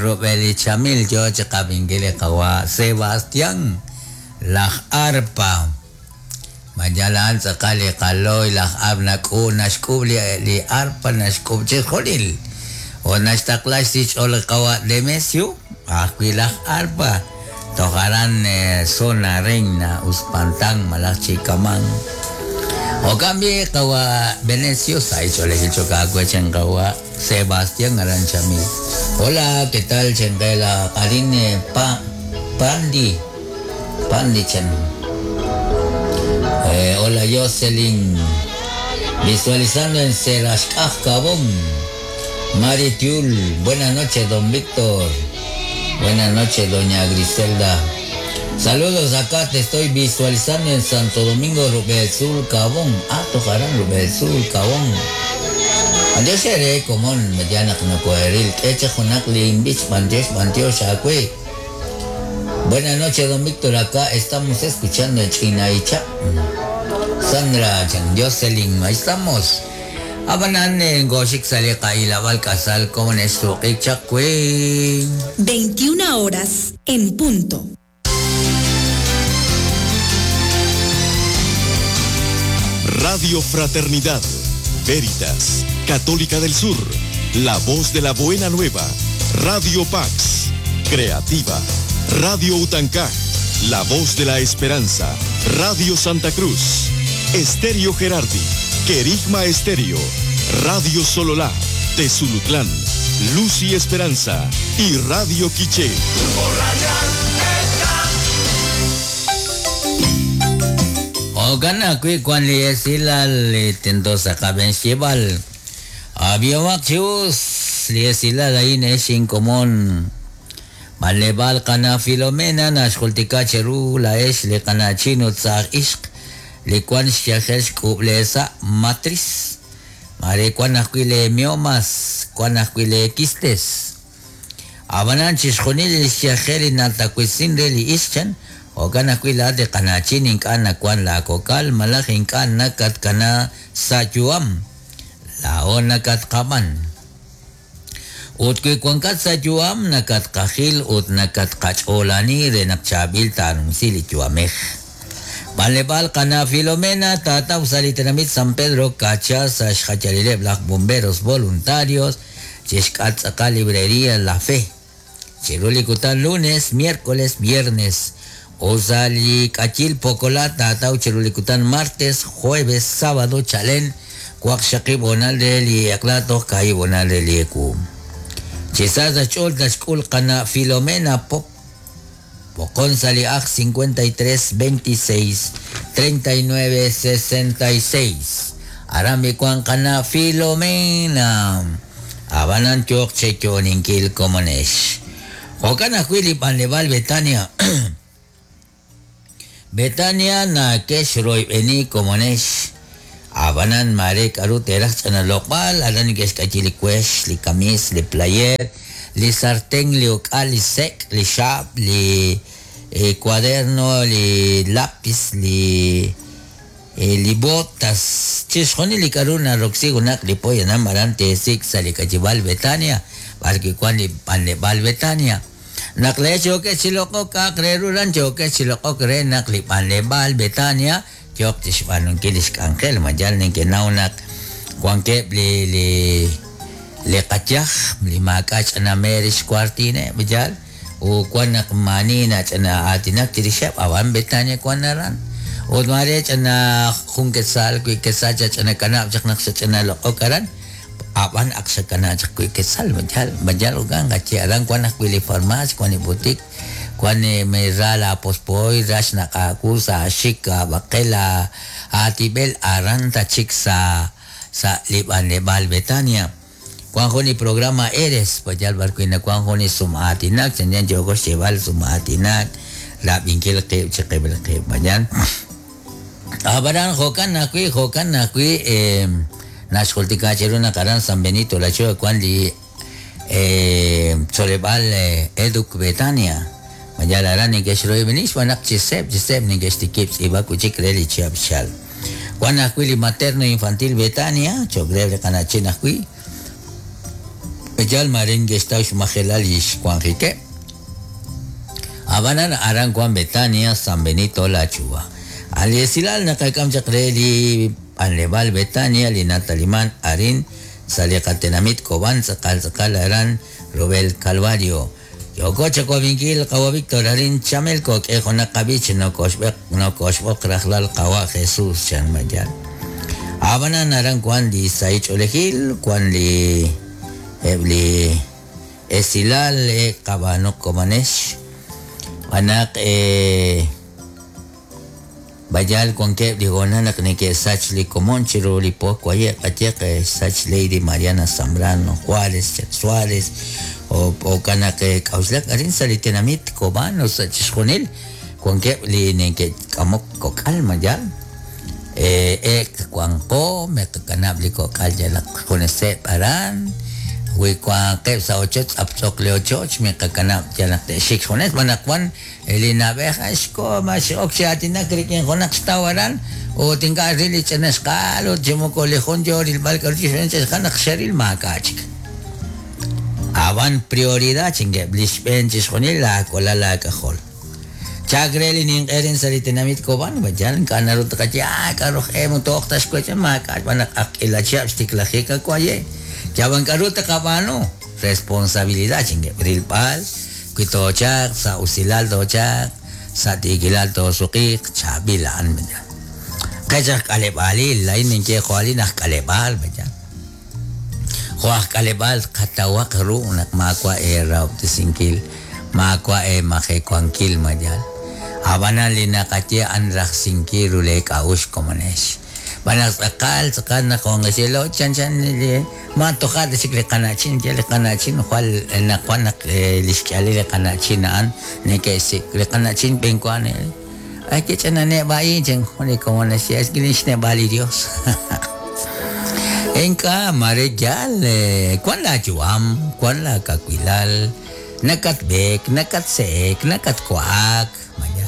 rub'el li chamil yo chi qab'inkil li qawa' Sebastián laj arpa. Ma yal a'an tz'aqal li qalooy laj arp nak'u naxk'uub' li li arpa naxk'uub' chixjunil. Ut naxtaqla xsich'ool li qawa' Demesio ajwi' laj arpa toj aran Zona Reina Uspantán malaj chi kaman. Jo'kan b'i' qawa' Venecio sa' xch'oolejil cho'q aawe chan qawa' Sebastián aran Chamil. Hola, ¿qué tal chenqe la arin pa Pandi? Pandi chan. Hola Jocelyn. Visualizando en Serascaj Cabón. Mari Tiul, buenas noches, don Víctor. Buenas noches, doña Griselda. Saludos acá, te estoy visualizando en Santo Domingo, Rubel Sur, Cabón. Ah, tocarán Rubel Sur, Cabón. Andios seré común, mediana no coeril. Echa junak limbich, bandios, bandios, acue. Buenas noches, don Víctor. Acá estamos escuchando en Chinaicha. Sandra, Chan Jocelyn, ahí estamos. Abanan en Goshik Salika y la Balcazal con esto 21 horas en punto. Radio Fraternidad, Veritas, Católica del Sur, La Voz de la Buena Nueva, Radio Pax, Creativa, Radio Utancá, La Voz de la Esperanza, Radio Santa Cruz, Estéreo Gerardi, Querigma Estéreo, Radio Sololá, Tezulutlán, Luz y Esperanza y Radio Quiché. Jo'kan ajwi' wank li esilal li tento sa' qab'een xyeeb'al. Ab'ihomaq chi us li esilal a'in ex inkomon. B'anleb'aal qana' Filomena naxjultika cheru laa'ex li qana'chin ut saaj ixq li wank xyajel xk'ub'leesa' matriz. Maare wank ajwi' lee miomas, wank ajwi' lee quistes. Ab'anan chixjunil li xyajel li natawisin re li ixq chan, jo'kan ajwi' laa'at li qana'chin ink'a' nawank laakok'al malaj ink'a' nakatkana sa' yu'am. Laa'o nakatqab'an. Ut wi wankat sa' yu'am nakatqajil ut nakatqach'oolani re naq chaab'il taanumsi li yu'amej. B'anleb'aal qana' Filomena taataw sa' li tenamit San Pedro Cacha sa' xjayalileb' laj Bomberos Voluntarios chixk'atq tz'aqal librería La Fe. Chiru li kutan lunes, miércoles, viernes. Ut sa' li k'ayil Pokola taataw chiru li kutan martes, jueves, sábado chalen waqxaqib' hoonal re li eq'la toj kaahib' hoonal re li ewu. Chi sa sa' xch'ool naxk'ul qana' Filomena Pop B'oqon sa' li ajl 53 26 39 66. Aran b'i wank qana' Filomena. Ab'anan yooq cheyo'oninkil komonex. Jo'kan ajwi' li b'anleb'aal Betania. Betania nake'xroyb'eni komonex. Ab'anan maare k'aru teeraj ch'ina loq'b'al, aran neke'xk'ayi li wex, li kamiis, li playeer, li sarten, li uk'al, li sek', li xaab', li cuaderno, li lapis, li li botas, chixjunil li k'aru naroksi junaq li poyanam aran teesik' sa' li k'ayib'aal Betania, b'arwi' wank li b'anleb'aal Betania. Naq laa'ex yookex chi loq'ok k'a'aq re ru aran yookex chi loq'ok re naq li b'anleb'aal Betania yooq chi xb'aanunkil li xk'anjel. Ma yal nekenaw naq wankeb' li li li qayaj li maak'a' ch'ina meer xkuartiineb', yaal? Ut wan naq maani nach'ina aatinak chirixeb', ab'an Betania wank aran. Ut maare ch'ina jun quetzal, wi quetzal chach'ina kanab' chaq naq xach'ina loq'ok aran, ab'an ak xakana' chaq wi quetzal, ma yaal? Ma yaal jo'kan qaye aran wank ajwi' li farmacia, wank li boutique, wank ra laapospo'oy, ra xnaq' aawu sa' aaxik, aab'aqel, aatib'el, aran tachik sa' sa' li b'anleb'aal Betania. Wank jun li programa Eres, pa yal b'ar wi' nawank jun li sum'aatinak, chanchan yooko xyeeb'al sum'aatinak, rab'inkil qib' chiqib'il qib', pa yal. Ab'anan jo'kan ajwi', jo'kan ajwi' naxjultika cheru naq aran San Benito La Choa wank li tzoleb'aal Educ Betania. Ma yal aran neke'xroyb'eni xb'aan naq chi seeb' chi seeb' neke'xtikib' tz'iib'ak wi' chik re li chihab' xchalk. Wank ajwi' li Materno Infantil Betania cho'q reheb' li qana'chin ajwi'. Yal mare neke'xtaw xmajelal li xwanjikeb'. Ab'anan aran wank Betania, San Benito, La Chuva. A' li esilal naqak'am chaq re li b'anleb'aal Betania li nataliman arin sa' li qatenamit Cobán tz'aqal tz'aqal aran rub'el Calvario. Yooko chawab'inkil qawa' Víctor arin Chamelco k'e junaq qab'ich nokoxb'eq nokoxb'oq rajlal qawa' Jesús chan ma yaal. Ab'anan aran wank li sahil ch'oolejil, wank li eb' li esilal e qab'aanuq komonex. Xb'aan naq Bayal wankeb' li hoonal naq neke'sach li komon chiru li po waye' qayehaq xsach Lady Mariana Zambrano Juárez chaq Suárez o jo'kan naq k'a'uxlak arin sa' li tenamit Cobán o sa' chixjunil wankeb' li neke'k'amok kok'al ma yaal ek wanqo miqakanab' li kok'al yalaq juneseb' aran wi wanqeb' sa' ochoch tz'aptz'oq li ochoch miqakanab' yalaq te'xik xjunes xb'aan naq wan Li na'b'ej xkoho ma x'ok chi aatinak rik'in junaq xtaw aran ut ink'a' ril li ch'ina xqa'al ut chi moko li jun yoo rilb'al k'a'ru chi xb'een ch'ina xqa'al naq xeril maak'a' chik. Ab'an prioridad chinkeb' li xb'een chixjunil laawalal laak'ajol. Chak re li ninq'e rin sa' li tenamit Cobán, yal ink'a' naru tqaye ah k'a'ru aj e moko tooq ta xwech'e maak'a' xb'aan naq ak k'iila chihab' xtiklajik awaye'. Yab'an k'a'ru taqab'aanu? Responsabilidad chinkeb' rilb'al Wi toochalq sa' usilal toochalq, sa' tiikilal toosuqiiq, chaab'il a'an, mayan. Qech aj k'aleb'aalil, laa'in ninye jo' alin aj k'aleb'aal, mayan. Jo' aj k'aleb'aal qatawaq ru naq maawa' eerahob'tesinkil, maawa' eemajewankil, mayan. Ab'anan li naqaye a'an rajsinkil ru lee k'a'uxl komonex. Xb'aan naq tz'aqal tz'aqal naq wanqexelo chanchan li ma toja' ta chik li qana'chin ye li qana'chin jwal naq wan naq li xk'ihalil li qana'chin a'an neke'xsik' li qana'chin b'enwa ay kich'ina neb'a'in chan jun li komon naxye es li xneb'a' li Dios ink'a' mare yaal wan laayu'am wan laakawilal nakatb'eek nakatse'ek nakatwa'ak maya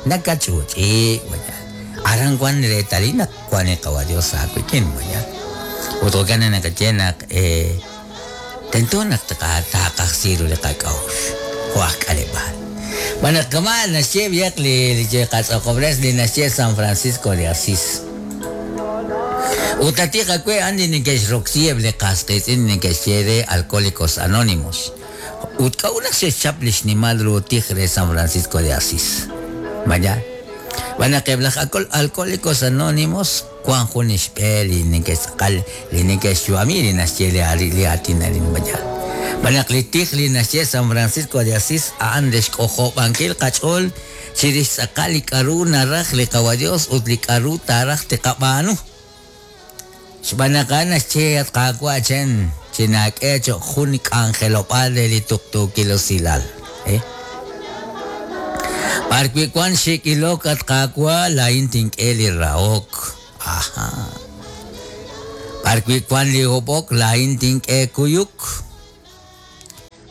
Nakach'uch'i, maya. Aran wan reetalil naq wan li Qawa' Dios aawik'in, maya. Ut jo'kan naq naqaye naq tento naq taaqajsi ru li qak'a'uxl jo' aj k'aleb'aal. Xb'aan naq kama' naxye b'ihaq li qatz'aqob'res li naxye San Francisco de Asís. Ut atiq awe' a'an li neke'xroksi eb' li qas qiitz'in li neke'xye re Alcohólicos Anónimos. Ut k'a'ut naq xe'xchap li xnimal ru tij re San Francisco de Asís? Ma yaal? Xb'aan naq eb' laj Alcohólicos Anónimos wank jun li xb'e li neke'tz'aqal li neke'xyu'ami li naxye li aatin a'in. Ma yaal? Xb'aan naq li tij li naxye San Francisco de Asís a'an re xk'ojob'ankil qach'ool chirix tz'aqal li k'a'ru naraj li Qawa' Dios ut li k'a'ru taaraj tiqab'aanu. Xb'aan naq a'an naxye, At Qaawa', chan, chinaak'e cho'q jun k'anjelob'aal re li tuqtuukil usilal. B'ar wi' wank xik' ilok, at Qaawa', laa'in tink'e li rahok. Aja. B'ar wi' wank li hob'ok, laa'in tink'e kuyuk.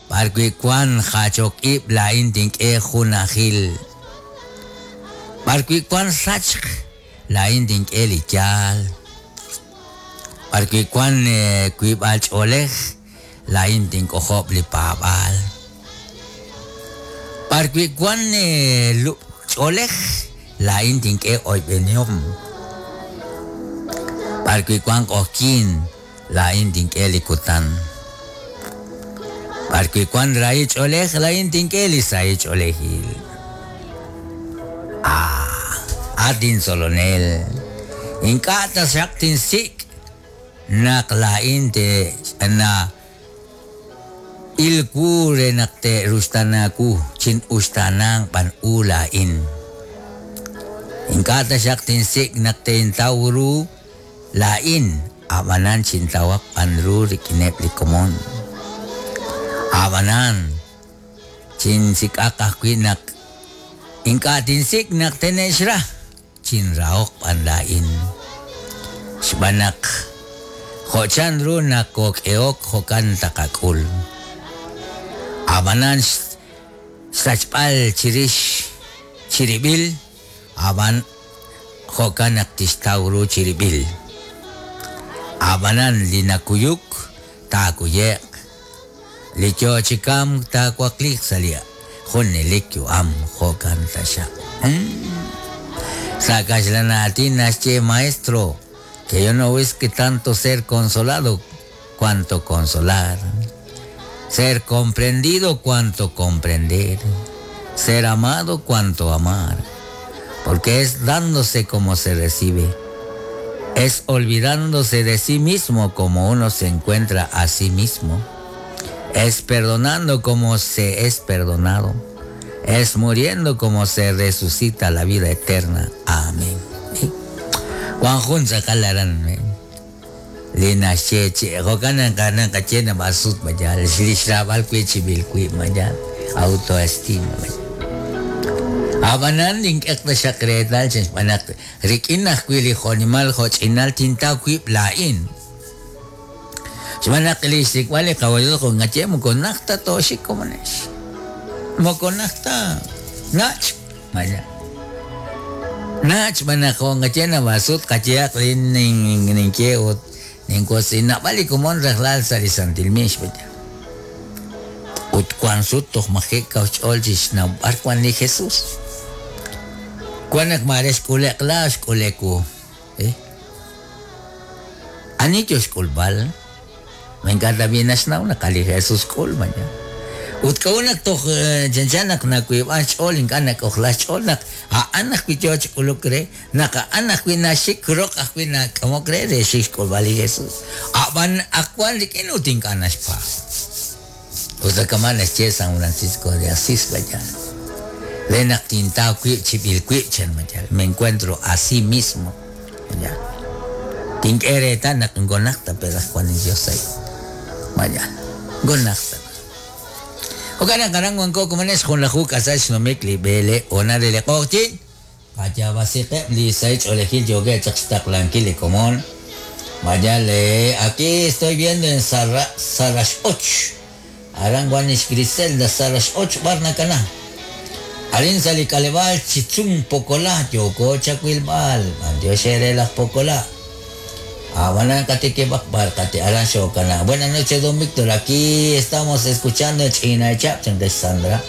B'ar wi' wank jachok ib', laa'in tink'e junajil. B'ar wi' wank sachk, Laa'in tink'e li yaal. B'ar wi' wank wiib'al ch'oolej, laa'in tink'ojob' li paab'aal. B'ar wi' wank lub' ch'oolej, laa'in tink'e oyb'enihom. B'ar wi' wank q'oqyink, laa'in tink'e li kutan. B'ar wi' wank rahil ch'oolej, laa'in tink'e li sahil ch'oolejil. Ah, at intzolonel, ink'a' taxaq tinsik' naq laa'in te'ch'ana il wu re naq te'ruxtaana wu, chin'uxtaananq b'an u laa'in. Ink'a' taxaq tinsik' naq tintaw ru Laa'in, a'b'anan chintawaq b'an ru rik'ineb' li komon. A'b'anan, chinsik'aq ajwi' naq ink'a' tinsik' naq tene'xra, chinrahoq b'an laa'in. Xb'aan naq jo' chanru nokok'ehok jo'kan taqak'ul. A'b'anan xsachb'al chirix chirib'il, Ab'an jo'kan naq tixtaw ru chirib'il. Ab'anan li nakuyuk, taakuye'q. Li yo chi kamk taawakliiq sa' li junelik yu'am, jo'kan taxaq. Sa' kaxlan aatin naxye maestro, que yo no busque tanto ser consolado cuanto consolar, ser comprendido cuanto comprender, ser amado cuanto amar, porque es dándose como se recibe, es olvidándose de sí mismo como uno se encuentra a sí mismo, es perdonando como se es perdonado, es muriendo como se resucita la vida eterna. Amén. Juan Junza kalaran. Li naxye chi jo'kan naq naqaye nab'asut mayal li xraab'al wi' chib'il wib' mayal autoestima Ab'anan nink'eq taxaq reetal xb'aan naq rik'in ajwi' li jo'nimal jo'ch'inal tintaw wib' laa'in. Xb'aan naq li xsik'b'al li qawalil jo'ngaye moko najta tooxik komonex. Moko najta nach maya. Nach b'aan naq jo'ngaye nab'asut qayehaq li ninkye ut ninwosi nab'al li komon rajlal sa' li Santil Mix b'aya. Ut wan sut toj maji' kaw xch'ool chi xnawb'al wan li Jesus. Wan naq maare xk'ule'q la xk'ule'k wu. Ani yo xk'ulb'al? Ma ink'a' tab'i' naxnaw naq a' li Jesus xk'ul maya. Ut k'a'ut naq toj chanchan naq nawiib'an xch'ool ink'a' nak'ojla xch'ool naq a'an ajwi' yo chi k'uluk re, naq a'an ajwi' naxik roq ajwi' nak'amok re re xik xk'ulb'al li Jesus. A'b'an ak wan rik'in ut ink'a' naxpaab'. Ut kama' naxye San Francisco de Asís maya. Re naq tintaw wib' chib'il wib' chan maya. Me encuentro a sí mismo. Maya. Tink'e reetal naq ngonajta pero aj wan li Dios ahí. Maya. Ngonajta. Jo'kan naq aran wanko komonex junlaju k'asal xnumik li b'ele ona de li q'oqyin. Qayab'asiqeb' li sahil ch'oolejil yookeb' chaq xtaqlankil li komon. Vaya, le, aquí estoy viendo en Sarash Och. Aran wan ix Griselda Sarash Och b'ar nakana. Arin sa li k'aleb'aal Chitzun Pokola yooko chawilb'al. B'antiox ere laj Pokola. Ab'anan qatikib'aq b'ar qati aran xokana. Buenas noches, don Víctor. Aquí estamos escuchando Ch'inachap, chantex Sandra.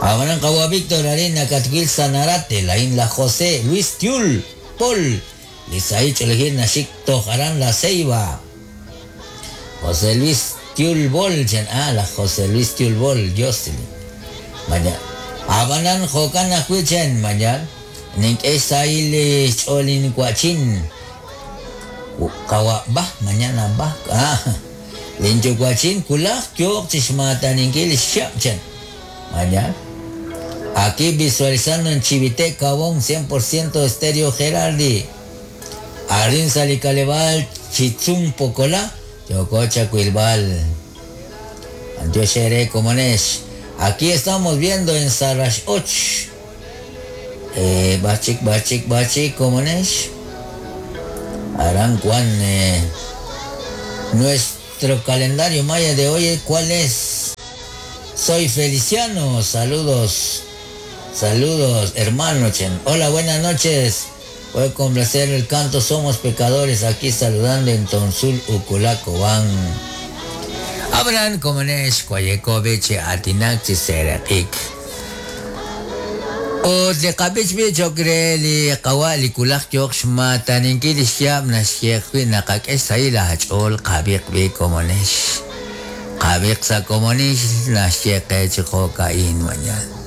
Ab'anan qawa Víctor arin nakatwil Sanarate, lain la José Luis Tiul, Paul. Li sahil ch'oolejil naxik toj aran La Ceiba. José Luis Tiul Bol, chan la José Luis Tiul Bol, Jocelyn. Maya. Ab'anan jo'kan ajwi' chen maya. Nink'e xsahil li xch'ool inwa'chin. Qawa ba, mañana ba. Linyuwa'chin kulaj yooq chi xmaataninkil xxab' chan. Maya. Aquí visualizando en Chivite, Cabón, 100% Estéreo Gerardi. Arin sa li k'aleb'aal Chitzun Pokola, yooko chawilb'al. Antiox ere komonex. Aquí estamos viendo en Sarash Och. Bachik, bachik, bachik, komonex. Aran Juan, nuestro calendario maya de hoy, ¿cuál es? Soy Feliciano, saludos, saludos, hermano Chen. Hola, buenas noches. Voy a complacer el canto Somos Pecadores, aquí saludando en Tonsul, Uculaco, van. Abraham Komonesh, Cuayekovich, Atinak, Chiserakik. Ut li qab'ich b'i choq re li qawa' li kulaj yooq xmaataninkil li xyaab' naxye ajwi' naqak'e xsahil aach'ool qab'iq b'i komonex. Qab'iq sa' komonix naxye qe chi jo'ka'in mañana.